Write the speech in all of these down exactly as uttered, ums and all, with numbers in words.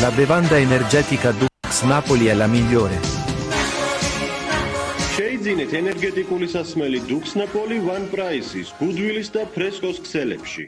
La bevanda energetica Dux Napoli è la migliore. შეიძინეთ ენერგეტიკული სასმელი Dux Napoli One Price-ის გუდვილის და ფრესკოს ქსელებში.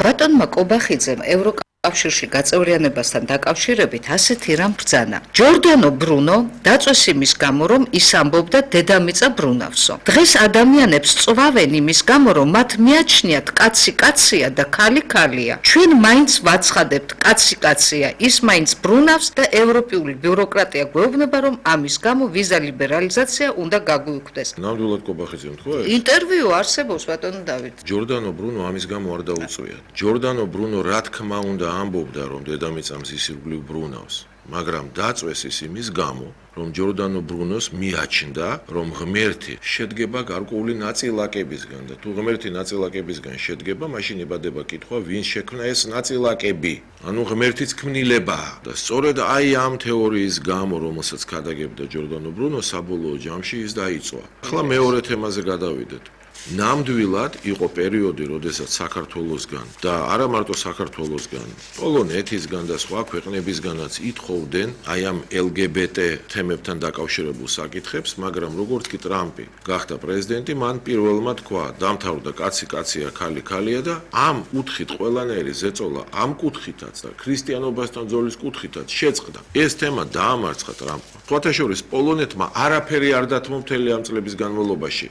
ბატონმა კობახიძემ ევროკავშირში გაწევრიანებასთან დაკავშირებით ასეთი რამ ბრძანა. ჯორდანო ბრუნო დაწვეს იმის გამო, რომ ის ამბობდა დედამიწა ბრუნავსო. დღეს ადამიანებს წვავენ იმის გამო, რომ მათ მიაჩნიათ კაცი კაცია და ქალი ქალია. ჩვენ მაინც ვაცხადებთ კაცი კაცია, ის მაინც ბრუნავს და ევროპული ბიუროკრატია გვეუბნება, რომ ამის გამო ვიზა ლიბერალიზაცია უნდა გაგვიუქმდეს. ნამდვილად კობახიძემ თქვა ეს? ინტერვიუ არსებობს ბატონო დავით. ჯორდანო ბრუნო ამის გამო არ დაუწვიათ. ჯორდანო ბრუნო რა თქმა უნდა ამბობდა, რომ დედამიწა მზის ირგვლივ ბრუნავს, მაგრამ დაწვეს ის იმის გამო, რომ ჯორდანო ბრუნოს მიაჩნდა, რომ ღმერთი შედგება გარკვეული ნაწილაკებისგან და თუ ღმერთი ნაწილაკებისგან შედგება, მაშინ იბადება კითხვა, ვინ შექმნა ეს ნაწილაკები? ანუ ღმერთიც ქმნილებაა და სწორედ აი ამ თეორიის გამო, რომელსაც ქადაგებდა ჯორდანო ბრუნო, საბოლოო ჯამში ის დაიწვა. ახლა მეორე თემაზე გადავიდეთ. ნამდვილად იყო პერიოდი, როდესაც საქართველოსგან და არა მარტო საქართველოსგან, პოლონეთისგან და სხვა ქვეყნებისგანაც ითხოვდნენ აი ამ ელ გი ბი ტი თემებთან დაკავშირებულ საკითხებს, მაგრამ როგორც კი ტრამპი გახდა პრეზიდენტი, მან პირველმა თქვა, დამთავრდა კაცი კაცია, ქალი ქალია და ამ კუთხით ყველანაირი ზეწოლა ამ კუთხითაც და ქრისტიანობასთან ძოლის კუთხითაც შეწყდა. ეს თემა დაამარცხა ტრამპმა. სხვათა შორის პოლონეთმა არაფერი არ დათმო მთელი ამ წლების განმავლობაში.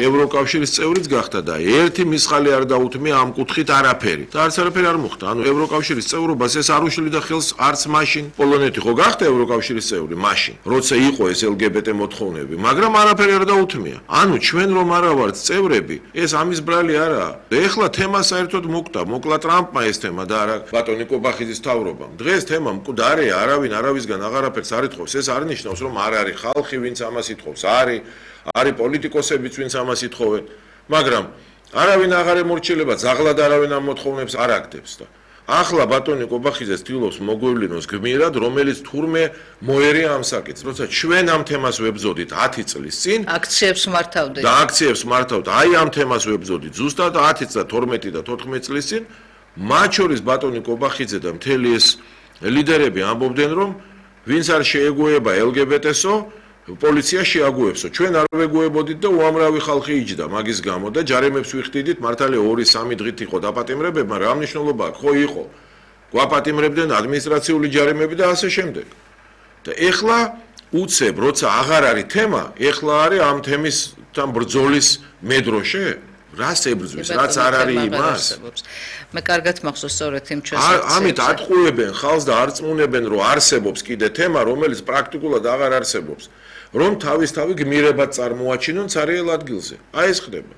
ევროკავშირის წევრიც გახდა და ერთი მისხალი არ დაუთმია ამ კუთხით არაფერი. და არც არაფერი არ მოხდა. ანუ ევროკავშირის წევრობას ეს არ უშლიდა ხელს არც მაშინ. პოლონეთი ხო გახდა ევროკავშირის წევრი მაშინ, როცა იყო ეს ელ გი ბი ტი მოთხოვნები, მაგრამ არაფერი არ დაუთმია. ანუ ჩვენ რომ არა ვართ წევრები, ეს ამის ბრალი არაა. და ეხლა თემა საერთოდ მოკვდა, მოკლა ტრამპმა ეს თემა და არა ბატონი კობახიძის თავრობამ. დღეს თემა მკვდარია, არავინ არავისგან აღარაფერს არ ითხოვს. ეს არ ნიშნავს, რომ არ არის ხალხი, ვინც ამას ითხოვს. არის, არის პოლიტიკოსებიც, ვინც ამას ითხოვენ. მაგრამ არავინ აღარ ემორჩილება, ზაღლად არავინ ამ მოთხოვნებს არ აკეთებს და ახლა ბატონი კობახიძე ცდილობს მოგვევლინოს გმირად, რომელიც თურმე მოერია ამ საკითხს, როცა ჩვენ ამ თემას ვებზოდით ათი წლის წინ, აქციებს მართავდით. და აქციებს მართავთ, აი ამ თემას ვებზოდით ზუსტად ათი და თორმეტი და თოთხმეტი წლის წინ, მათ შორის ბატონი კობახიძე და მთელი ეს ლიდერები ამბობდნენ, რომ ვინც არ შეეგუება ელ გი ბი ტი-სო, პოლიცია შეაგუებსო. ჩვენ არ ვეგუებოდით და უამრავი ხალხი იჯდა მაგის გამო და ჯარიმებს ვიხდიდით, მართალია ორი სამი დღით იყო დაპატიმრებები, მაგრამ რა მნიშვნელობა აქვს? ხო იყო. გვაპატიმრებდნენ ადმინისტრაციული ჯარიმები და ასე შემდეგ. და ეხლა უცებ, როცა აღარ არის თემა, ეხლა არის ამ თემისთან ბრძოლის მედროშე? რას ებრძვის, რაც არ არის იმას? მე კარგად მახსოვს სწორედ იმ ჩვენს ამით ატყუებენ ხალხს და არ წმუნებენ, რომ არსებობს კიდე თემა, რომელიც პრაქტიკულად აღარ არსებობს. რომ თავისთავი გმირებად წარმოაჩინონ ცარიელ ადგილზე. აი ეს ხდება.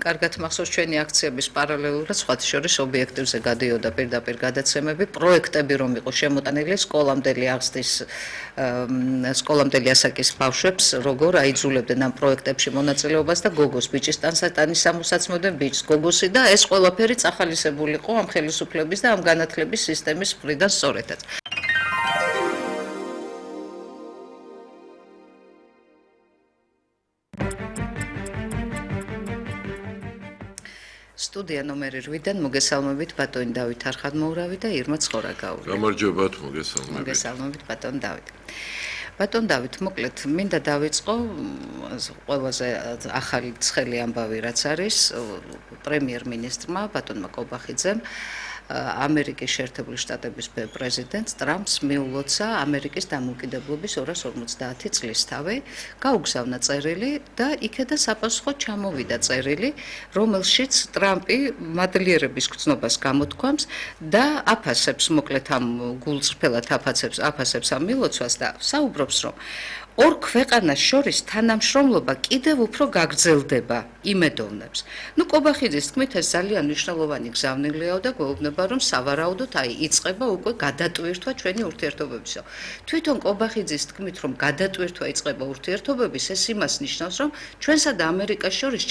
კარგად მახსოვს ჩვენი აქციების პარალელურად სხვათა შორის ობიექტივზე გადიოდა პირდაპირ გადაცემები, პროექტები რომ იყო შემოტანილი სკოლამდელი აღზრდის სკოლამდელი ასაკის ბავშვებს, როგორ აიძულებდნენ ამ პროექტებში მონაწილეობას და გოგოს ბიჭის ტანსატანის სამოსაცმოდენ ბიჭს გოგოსი და ეს ყველაფერი წახალისებული იყო ამ ხელისუფლების და ამ განათლების სისტემის მხრიდან სწორედაც. სტუდია ნომერი რვიდან მოგესალმებით ბატონი დავით არხადმოურავი და ირმა ცხორაგაური. გამარჯობათ, მოგესალმებით. მოგესალმებით ბატონ დავით. ბატონ დავით, მოკლედ მინდა დავიწყო ყველაზე ახალი ცხელი ამბავი რაც არის პრემიერ-მინისტრმა ბატონმა კობახიძემ ამერიკის შეერთებული შტატების პრეზიდენტს ტრამპს მიულოცა ამერიკის დამოუკიდებლობის ორას ორმოცდაათი წლისთავი, გაუგზავნა წერილი და იქედან საპასუხოდ ჩამოვიდა წერილი, რომელშიც ტრამპი მადლიერების გრძნობას გამოთქვამს და აფასებს, მოკლედ ამ გულწრფელად აფასებს, აფასებს ამ მილოცვას და საუბრობს, რომ ორ ქვეყანას შორის თანამშრომლობა კიდევ უფრო გაგრძელდება, იმედოვნებს. ნუ კობახიძის თქმით ეს ძალიან მნიშვნელოვანი გზავნილია და გვეუბნება, რომ სავარაუდოდ აი იწყება უკვე გადატვირთვა ჩვენი ურთიერთობებისო. თვითონ კობახიძის თქმით, რომ გადატვირთვა იწყება ურთიერთობების, ეს იმას ნიშნავს, რომ ჩვენსა და ამერიკას შორის